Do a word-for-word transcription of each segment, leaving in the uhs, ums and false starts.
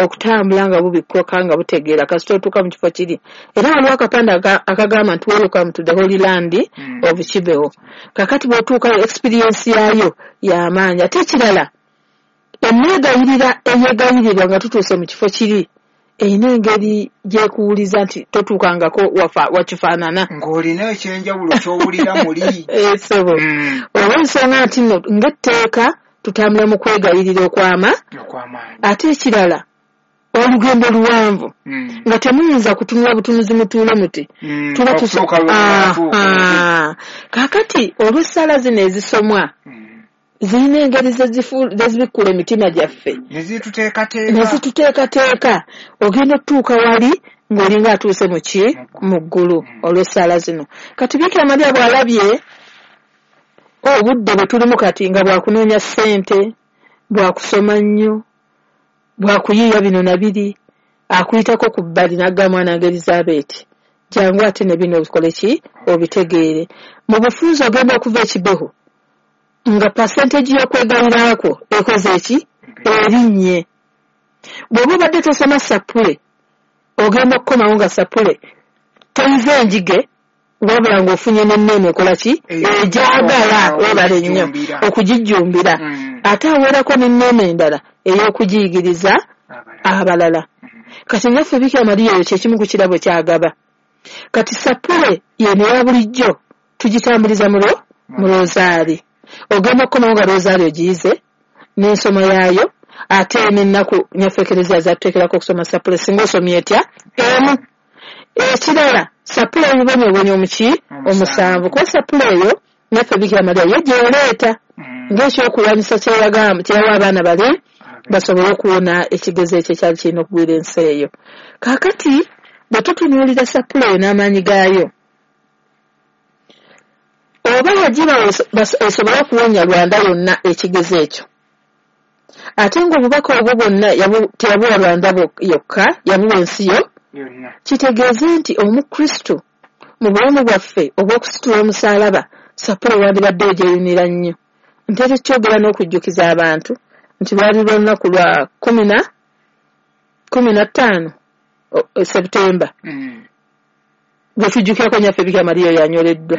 Okutambula nga bubikkoka nga butegeera kasita otuuka mu kifo kiri. Era waliwo akapande akagamba nti welcome to the Holy Land mm. of Kibeho. Kakati bw'otuukayo experience yaayo y'amaanyi. Ate ekirala, emwegayirira eyeegayirirwa nga tutuuse mu kifo kiri erina engeri gy'ekuwuliza nti totuukangako wakifaanana. Ng'olina ekyenjawulo ky'owulira muli. Ssebo. Olw'ensonga nti nno ng'etteeka tutambula mu kwegayirira okwama. Ate ekirala, olugendo luwanvu mm. nga temuyinza kutunula butunuzi mutuule muti mm. tuba kaakati olw'essaala zino ezisomwa mm. zirina engeri zezibikkula emitima gyaffe ne zituteekateeka ogenda otutuuka wali ng'olinga atuuse mu ki mu ggulu olw'essaala zino. Kati Bikira Maria bw'alabye obudde bwe tulimu kati nga bwakunoonya ssente, bwakusoma nnyo, bwakuyiiya bino na biri, akuyitako ku bbali n'agamba mwana wange Elizabeth jangu ate ne bino obikole ki obitegeere. Mu bufunze ogenda okuva e Kibeho nga percentage y'okwegayirira kwo ekoze ki erinnye. Bw'oba obadde tosoma sappule ogenda okukomawo nga sappule toyize enjige wabula ng'ofunye n'enneema ekola ki ejagala webale nnyo okugijjumbira. Ate awerako n'enneema endala ey'okugiyigiriza abalala. Kati naffe Bikira Maria eyo kye kimu ku kirabo ky'agaba. Kati sappule yeno eya bulijjo tugitambuliza mu rozaali. Ogenda okukomawo nga rozaali ogiyize n'ensoma yaayo, ate n'ennaku nyaffe Ekereziya zatuteekerako okusoma sappule singa osomye etya emu. Ekirala, sappule ebibonyoobonyo omuki omusanvu, kuba sappule eyo naffe Bikira Maria yo gy'oleeta ng'ekyokulwanyisa kye yawa abaana bale basobole okuwona ekigezo ekyo ekyali kirina okugwira ensi eyo. Kaakati bwe tutunuulira sappule eyo n'amaanyi gaayo, oba yagibawa esobole okuwonya Rwanda yonna ekigezo ekyo, ate ng'obubaka obwo bwonna teyabuwa Rwanda yokka, yabuwa ensi yo. Kitegeeze nti Omukristo mu bulamu bwaffe obw'okusitula omusaalaba sappule wandibadde ogyeyunira nnyo. Ntera ekyogera n'okujjukiza abantu nti lwali lw'olunaku lwa kumi na kumi na ttaano Septemba bwe tujjukirako Nnyaffe Bikira Maria oyo anyoleddwa.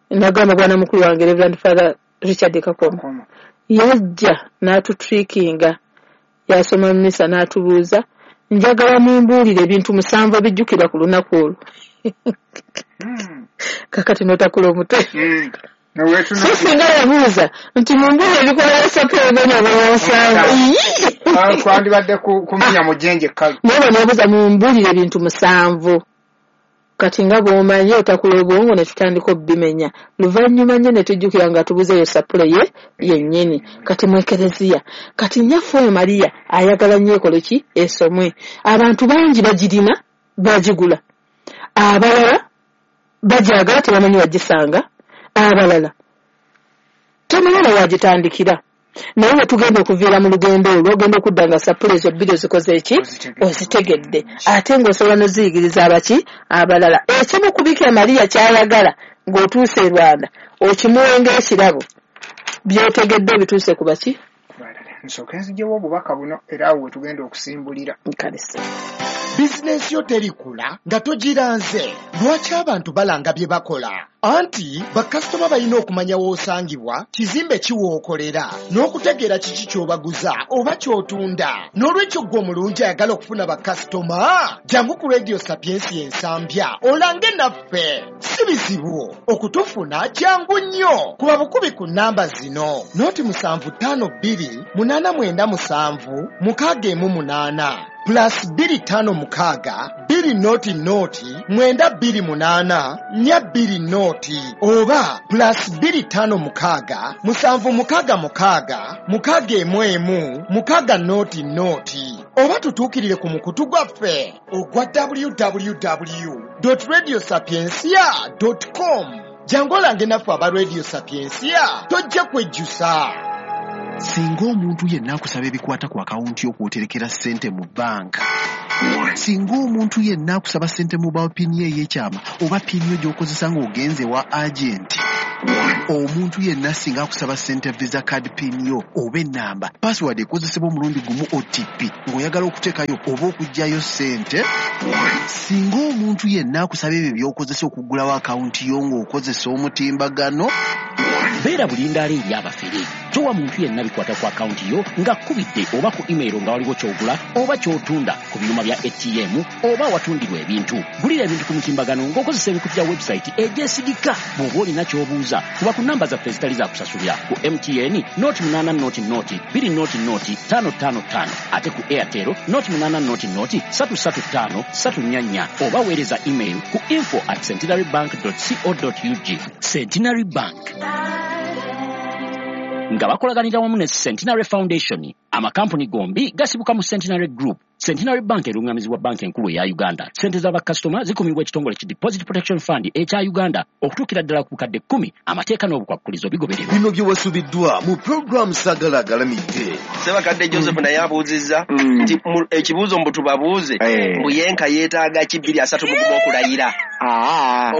Nagamba bwana mukulu wange Reverend Father Richard Kakoma yajja n'atutrikinga, yasoma mmisa n'atubuuza, njagala mumbuulire ebintu musanvu ebijjukirwa ku lunaku olwo. Kakati n'otakula omutwe. So singa yabuuza nti mumbuulire ebikola sappule ebibonyoobonyo musanvu, twandibadde kumenya mujjenje ekkalu. Naye bwe mumbuulire ebintu musanvu. Kati nga bw'omanyi otakula obwongo ne tutandika obbimenya. Luvannyuma nnyo ne tujjukira nga tubuzeeyo sappule ye yennyini. Kati mu Ekereziya. Kati Nnyaffe oyo Maria ayagala nnyo ekole ki esomwe. Abantu bangi bagirina bagigula. Abalala bagyagala tebamanyi wagisanga. Abalala tebamanyi na wagitandikira. Naye bwe tugenda okuviira mu lugendo olwo ogenda okudda nga sappule ezo bbiri ozikoze eki ozitegedde, ate ng'osobola n'oziyigiriza abaki abalala. Ekimu ku Bikira Maria ky'ayagala ng'otuuse e Rwanda okimuwe ng'ekirabo, by'otegedde obituuse ku baki. Nsooke nziggyewo obubaka buno era awo we tugenda okusimbulira. Nkalisa. Bizinensi yo terikula nga togiranze. Lwaki abantu balanga bye bakola? Anti bakasitoma balina okumanya w'osangibwa, kizimbe ki w'okolera, n'okutegeera kiki ky'obaguza oba ky'otunda. N'olwekyo ggwe omulungi ayagala okufuna bakasitoma, jangu ku Radio Sapiensia Ensambya olange naffe. Si bizibu okutufuna, kyangu nnyo. Kuba bukubi ku nnamba zino: noti musanvu ttaano bbiri munaana mwenda musanvu mukaaga emu munaana plus bbiri ttaano mukaaga bbiri noti noti mwenda bbiri munaana nnya bbiri noti oba plus bbiri ttaano mukaaga musanvu mukaaga mukaaga mukaaga emu emu mukaaga noti noti oba tutuukirire ku mukutu gwaffe ogwa w w w dot radio sapiensia dot com. Jangu olange naffe aba Radio Sapiensia, tojja kwejjusa. Singa omuntu yenna akusaba ebikwata ku akawunti y'okwoterekera ssente mu bbanka, singa omuntu yenna akusaba ssente mu mobile pin ye ey'ekyama oba pin yo gy'okozesa ng'ogenze wa agenti, Omuntu yenna singa akusaba ssente visa card pin yo oba ennamba, password ekozesebwa omulundi gumu O T P ng'oyagala okuteekayo oba okuggyayo ssente. Singa omuntu yenna akusaba ebyo by'okozesa okuggulawo akawunti yo ng'okozesa omutimbagano. Beera bulindaala eri abafere. Towa muntu yenna bikwata ku akawunti yo ng'akubidde oba ku email nga waliwo ky'ogula oba ky'otunda ku byuma bya A T M oba awatundirwa ebintu. Gulira ebintu ku mutimbagano ng'okozesa emikutu gya website egyesigika. Bw'oba olina ky'obuuza kuba ku namba zaffe ezitali za kusasulira ku M T N noti munaana noti noti bbiri noti noti ttaano ttaano ttaano, ate ku Airtel noti munaana noti noti ssatu ssatu ttaano ssatu nnya nnya, oba weereza email ku info at centenary bank dot co dot ug. Centenary Bank nga bakolaganira wamu ne Centenary Foundation. Amakampuni gombi gasibuka mu Centenary Group. Centenary Bank erungamizibwa banka enkulu eya Uganda. Ssente z'abakasitoma zikumibwa ekitongole ki Deposit Protection Fund ekya Uganda okutuukira ddala ku bukadde kkumi. Amateeka n'obukwakkulizo bigobererwa. Bino bye wasubiddwa mu program Sagala Agalamidde. Ssebakadde Joseph naye abuuzizza nti ekibuuzo mbu tubabuuze mbu yenka yeetaaga ki bbiri asatu mu gumu okulayira.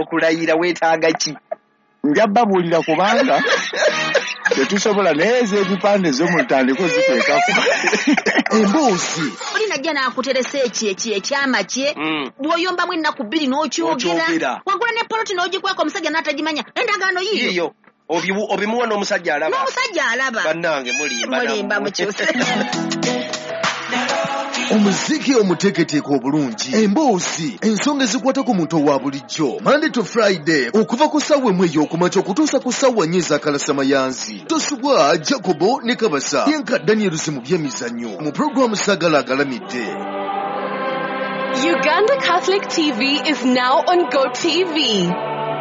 Okulayira weetaaga ki? Nja babuulira kubanga tetusobola naye ez'ebipande zo mutandike ziteekako. Emboozi. Oli najja n'akuteresa eki eki ekyama kye bw'oyombamu ennaku bbiri n'okyogera. Wagula ne poloti n'ogikweka omusajja n'atagimanya. Endagaano yiyo. Obimuwa n'omusajja alaba. N'omusajja alaba. Bannange mulimba. Mulimba mukyuse. Omuziki omuteeketeeke obulungi, emboozi, ensonga ezikwata ku muntu owa bulijjo. Monday to Friday okuva ku ssaawa emu ey'okumakya okutuusa ku ssaawa nnya ez'akalasamayanzi. Tosubwa Jacobo ne Kabasa yenka Daniel mu by'emizannyo mu pulogulaamu Sagala Agalamidde. Uganda Catholic T V is now on GoTV.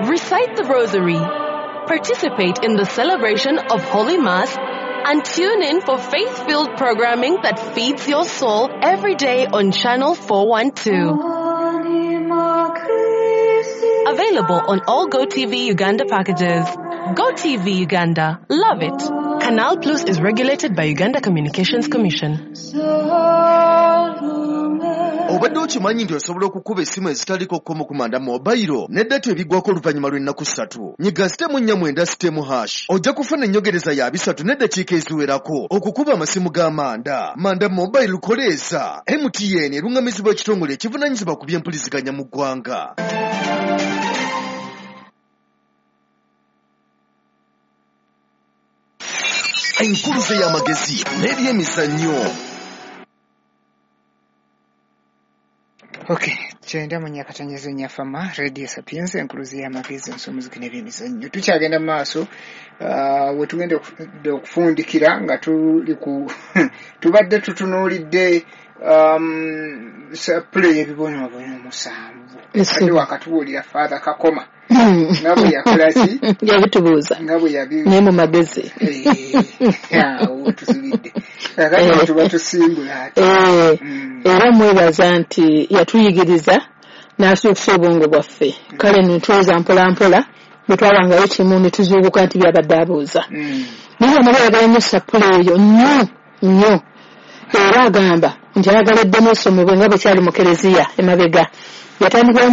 Recite the Rosary, participate in the celebration of Holy Mass, and tune in for faith-filled programming that feeds your soul every day on Channel four one two. Available on all GoTV Uganda packages. GoTV Uganda. Love it. Canal Plus is regulated by Uganda Communications Commission. Obadde okimanyi nti osobola okukuba essimu ezitaliko kkomo ku manda mobayiro ne data ebiggwako oluvannyuma lw'ennaku ssatu. Nyiga sitemu nnya mwenda sitemu hash. Ojja kufuna ennyongereza ya bisatu n'eddakiika eziwerako okukuba amasimu ga manda. Manda mobayiro koleeza. M T N erungamizibwa ekitongole ekivunaanyizibwa ku by'empuliziganya mu ggwanga. Enkuluze y'amagezi n'ebyemizannyo. Okay, kyenda mu Nyakatanyezo Nyafama, Radio Sapienza, enkuluze y'amagezi ensomuziki n'ebyemizannyo. Tukyagenda mu maaso, uh, we tugenda okufundikira nga tuli ku tubadde tutunuulidde um, sapule y'ebibonyoobonyo omusanvu. Ate wakatubuulira Father Kakoma nga bwe yakola ki? Yabitubuuza. Nga bwe yabi naye mu magezi. Awo tusibidde. Kakati tuba tusimbula ate. Era mwebaza nti yatuyigiriza n'asuukusa obwongo bwaffe. Kale ne tuweza mpola mpola bwe twabangayo kimu ne tuzuukuka nti byabadde abuuza. Naye amala ayagala nnyo sapule eyo nnyo nnyo. Era agamba nti ayagala eddemu esomebwe nga bwe kyali mu kereziya emabega. Yatandikirawo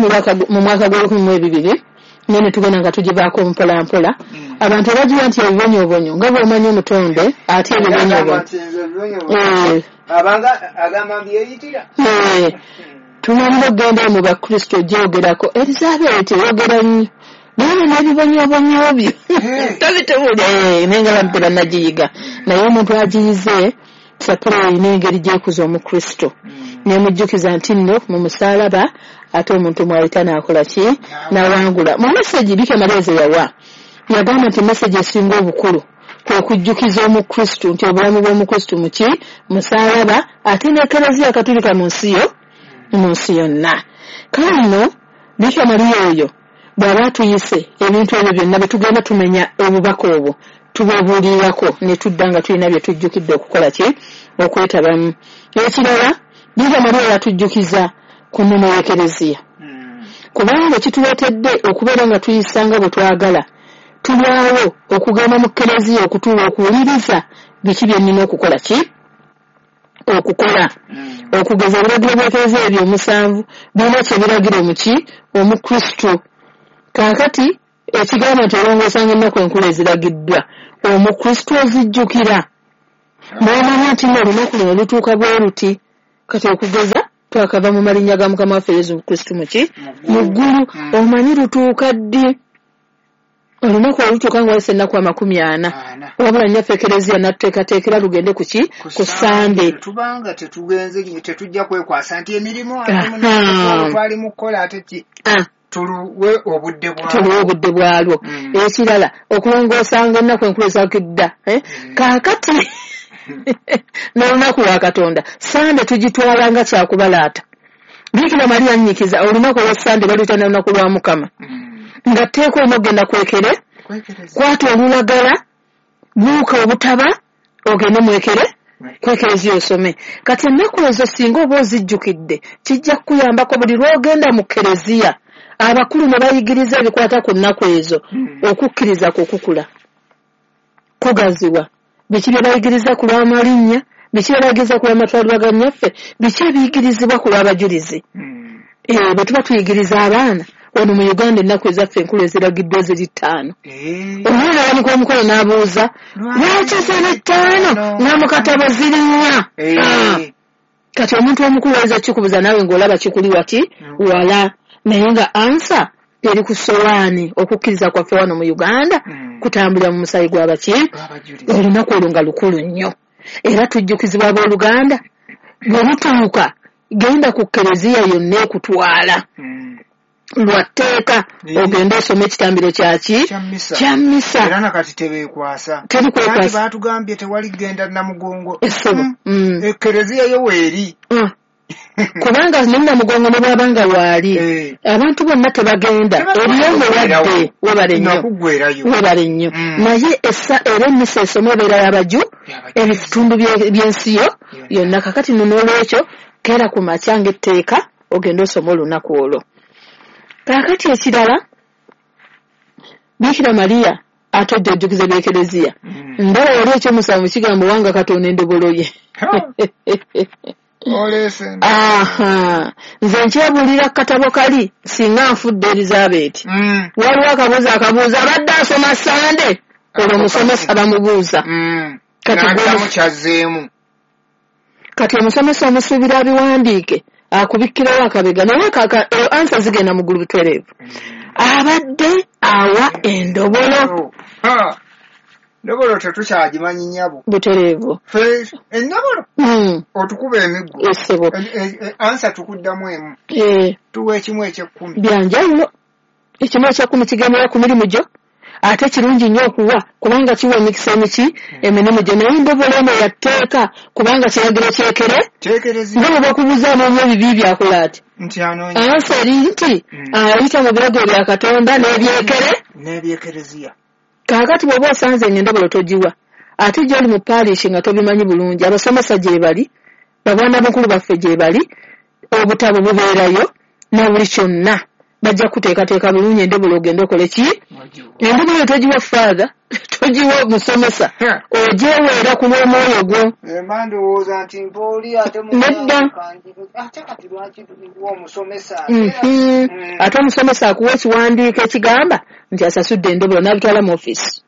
mu mwaka gw'olukumi mu ebibiri naye ne tugenda nga tugivaako mpola mpola. Abantu abagiwa nti ebibonyoobonyo nga bw'omanyi omutonde ate ebibonyoobonyo. Abanga agamba mbyeyitira. Tumalira okugenda mu Bakristo gyogerako Elizabeth eyogera nnyo naye n'ebibonyoobonyo byo tabitubuulira naye nga abantu tebannagiyiga. Naye omuntu agiyize sapule erina engeri gy'ekuza Omukristo nemujjukiza nti nno mu musaalaba ate omuntu mwayita n'akola ki n'awangula. Mu meseji Bikira Maria ze yawa yagamba nti meseji esinga obukulu kwe kujjukiza Omukristo nti obulamu bw'Omukristo muki musaalaba ate n'Ekereziya Katolika mu nsi yo mu nsi yonna. Kale nno Bikira Maria oyo bw'aba atuyise ebintu ebyo byonna bwe tugenda tumenya obubaka obwo tububuulirako ne tudda nga tulina bye tujjukidde okukola ki okwetabamu. Ekirala Bikira Maria yatujjukiza ku nnono y'Ekereziya kubanga kituleetedde okubeera nga tuyisa nga bwe twagala tulwawo okugenda mu kereziya okutuula okuwuliriza biki bye nnina okukola ki okukola. Okugeza ebiragiro by'Ekereziya ebyo omusanvu birina kye biragira omuki Omukristo. Kaakati Ekigamba nti olongoosanga ennaku enkulu eziragiddwa, Omukristo ozijjukira n'omanya nti nno olunaku luno lutuuka bwe luti. Kati okugeza twakava mu malinnya ga Mukama waffe Yesu Kristo muki mu ggulu, omanyi lutuuka ddi? Olunaku olutuuka nga wayise ennaku amakumi ana, wabula nnyaffe Ekereziya n'atuteekateekera lugende ku ki? Ku Sande. Tubanga tetugenze tetujja kwekwasa nti emirimu twali mu kukola ate ki tuluwe obudde bwalwo, tuluwe obudde bwalwo. Ekirala okulongoosanga ennaku enkulu ezakidda kaakati n'olunaku lwa Katonda Sande tugitwala nga kyakubalaata. Bikira Maria nnyikiza olunaku olwa Sande baluyita na lunaku lwa Mukama, nga tteeka olina okugenda kwekere, kwata olulagala, buuka obutaba ogende mwekere kwekereziya osome. Kati ennaku ezo singa oba ozijjukidde kijja kukuyambako buli lw'ogenda mu kereziya abakulu ne bayigiriza ebikwata ku nnaku ezo, okukkiriza kwo kukula kugaziwa. Biki bye bayigiriza ku lw'amalinnya, biki bye bayigiriza ku lw'amatwalibwa ga nnyaffe, biki ebiyigirizibwa ku lw'abajulizi. Eh, bwe tuba tuyigiriza abaana wano mu Uganda ennaku ezaffe enkulu eziragiddwa ziri ttaano. Omwana awanika omukono n'abuuza lwaki ziri ttaano nga mu katabo ziri nnya? Kati omuntu omukulu ayinza kikubuuza naawe ng'olaba kikuli wati wala, naye nga ansa eri ku sowaani. Okukkiriza kwaffe wano mu Uganda kutambulira mu musaayi gw'abaki. Olunaku olwo nga lukulu nnyo, era tujjukizibwa abooluganda bwe lutuuka genda ku kereziya yonna ekutwala lwa tteeka ogende osome ekitambiro kyaki kya mmisa. Era nakati tebeekwasa, terikwekwasa. Baatugambye tewali genda Namugongo, essebo ekereziya yo weeri, kubanga ne Namugongo ne bw'aba nga waali abantu bonna tebagenda, eriyo omulwadde. Webale nnyo, webale nnyo. Naye era emmisa esoma ebeera y'abaju ebitundu by'ensi yo yonna. Kakati nno n'olwekyo keera ku makya ng'etteeka ogende osome olunaku olwo. Kaakati ekirala, Bikira Maria atodde ojjukiza by'Ekereziya. Ndaba wali ekyomusanvu kigamba wanga Katonda endobolo ye. Aha, nze nkyebuulira ku katabo kali singa nfudde Elizabeth. Waliwo akabuuza akabuuza abadde asoma Sande, olwo omusomesa bamubuuza. Kati omusomesa omusuubira abiwandiike akubikkirawo akabega, naye ansa zigenda mu ggulu butereevu. Abadde awa endobolo. Endobolo tetukyagimanyi nnyabo. Butereevu. Endobolo otukuba emiggo. Essebo. Ansa tukuddamu emu. Tuwa ekimu eky'ekkumi. Byanjawulo. Ekimu eky'ekkumi kigendera ku mirimu gyo, ate kirungi nnyo okuwa kubanga kiwa emikisa emiki emirimu gyo. Naye endobolo eno ya tteeka kubanga kiragiro kyekere nga bwe bakubuuza anoonya ebibi byakola ati ansa eri nti ayita mu biragiro bya Katonda n'ebyekere n'ebyekereziya. Kaakati bw'oba osanze ng'endobolo togiwa, ate gy'oli mu paalishi nga tobimanyi bulungi, abasomesa gye bali, babwana bukulu baffe gye bali, obutabo bubeerayo na buli kyonna bajja kuteekateeka bulungi endobolo ogende okole ki? Endobolo togiwa father, togiwa musomesa, ogyeweera ku lw'omwoyo gwo. Mba ndowooza nti mpooli ate Nedda. Ate kati lwaki tuwa omusomesa? Ate omusomesa akuwa ekiwandiiko ekigamba nti asasudde endobolo n'abitwala mu ofiisi.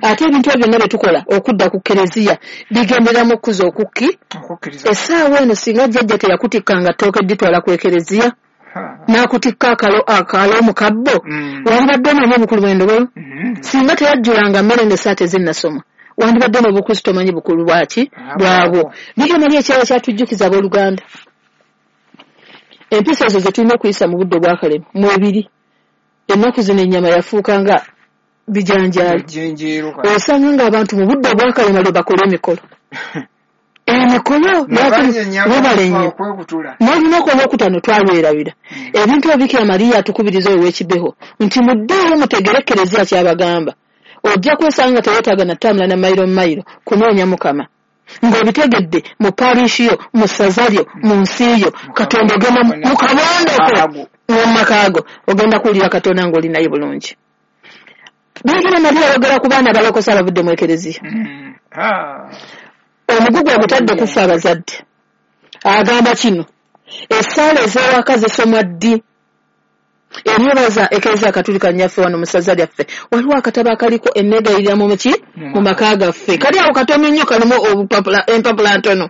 Ate ebintu ebyo byonna bye tukola okudda ku kereziya bigenderamu okkuza okukki. Essaawa eno singa jjajja teyakutikkanga ttooke dditwala ku ekereziya n'akutikka akalo akalo mu kabbo, wandibadde omanyi obukulu bw'endobolo. Singa teyajjulanga mmere ng'essaati tezinnasoma, wandibadde n'obukristo omanyi bukulu bwaki bwabwo. Bikira Maria ekyalo kyatujjukiza abooluganda empisa ezo ze tulina okuyisa mu budde obwakalema mwebiri. Ennaku zino ennyama yafuuka nga bijanjaalo, osanga ng'abantu mu budde obwakalema lwe bakola emikolo emikolo webale nnyo. N'olunaku olwokutaano twalwerabira ebintu ebyo. Bikira Maria atukubiriza oyo ow'ekibeho nti muddeeyo mutegere Ekereziya ky'abagamba. Ojja kwesanga nga teweetaaga na ttambula na mayiro mayiro kunoonya Mukama, ng'obitegedde mu paarishi yo, mu ssaza lyo, mu nsi yo. Katonda ogenda mu kabondoko mu maka go ogenda kuwulira Katonda ng'oli naye bulungi. Bikira Maria ayogera ku baana abalokose abavudde mu Ekereziya. Omugugu ogutadde kufa abazadde. Agamba kino, essaala ez'ewaka zisomwa ddi? Enyebaza Ekereziya Katulika nnyaffe wano mu ssaza lyaffe, waliwo akatabo akaliko enneegayirira mu ki mu maka gaffe. Kali awo katono nnyo, kalimu obupapula, empapula ntono,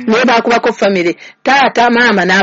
naye baakubako famire, taata, maama n'abaana.